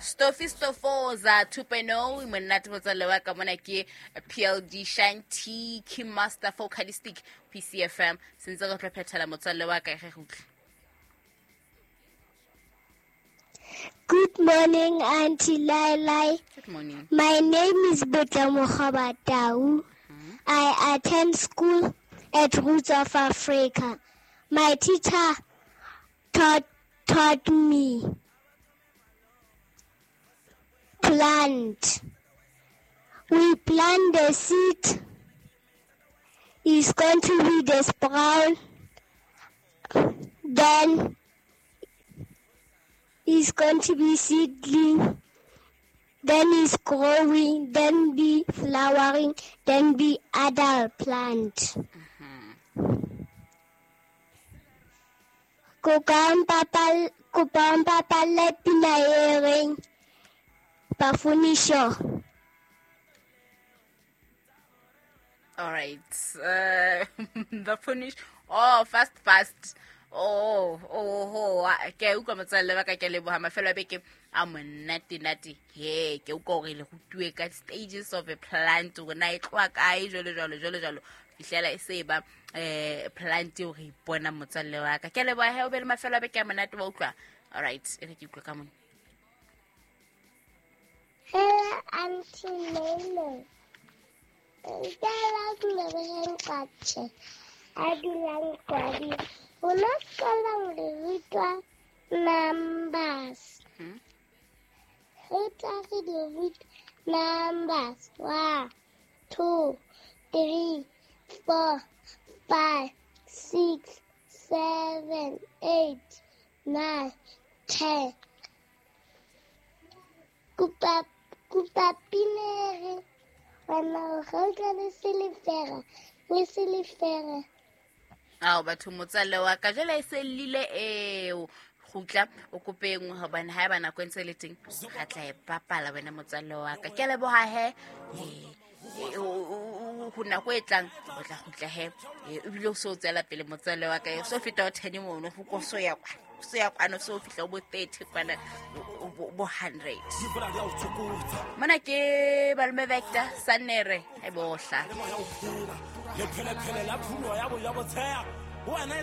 Stofi Stofoza 2.0 monate motswalle wa ka mona ke PLD Shanti Kim Master Focalistic PCFM sentse re tlo phethela motswalle wa ka ge re utlwe. Good morning, Auntie Lai. Good morning. My name is Butla Mokgobatau. I attend school at Roots of Africa. My teacher taught me plant. We plant the seed. It's going to be the sprout. Then it's going to be seedling. Then it's growing, then be flowering, then be adult plant. Kopa o mpapalle pina e reng Bafunisho. All right. Bafunish. Oh, fast. Oh, ke utlwa motswalle wa ka, ke leboha mafelo a beke a monate nate. He, ke utlwa hore le rutuwe ka stages of a plant, hore na e tloha kae, jwalo, jwalo, jwalo, jwalo. Fihlela e se ba plant eo re ipona motswalle wa ka. Ke leboha he, o be le mafelo a beke a monate, wa utlwa. All right, e re ke utlwe ka mona. Hello, Auntie Lele. Nka leboheng Qache, a dulang Kwadi. Rona sekolong re rutwa numbers. Re tla re di rutwa numbers. 1, 2, 3, 4, 5, 6, 7, 8, 9, 10. Kopa pinere. Wena o gauta le silifera, le silifera. Ao batho motswalle wa ka jwale e se llile eo. Kgutla o kope e nngwe hobane ha eba nako e ntse e le teng, re tla e bapala wena motswalle wa ka. Ke a leboha he. Ho nako e tlang o tla kgutla he. Ebile o so o tswela pele motswalle wa ka. O so feta o 10 mono, ho ko so ya kwa. So ya kwano, so fihla o bo 30 kwana, bo 100. Mona ke Balome Vector Sanere e bohla. Le phele phele la phulo ya bo ya botsheya. Wena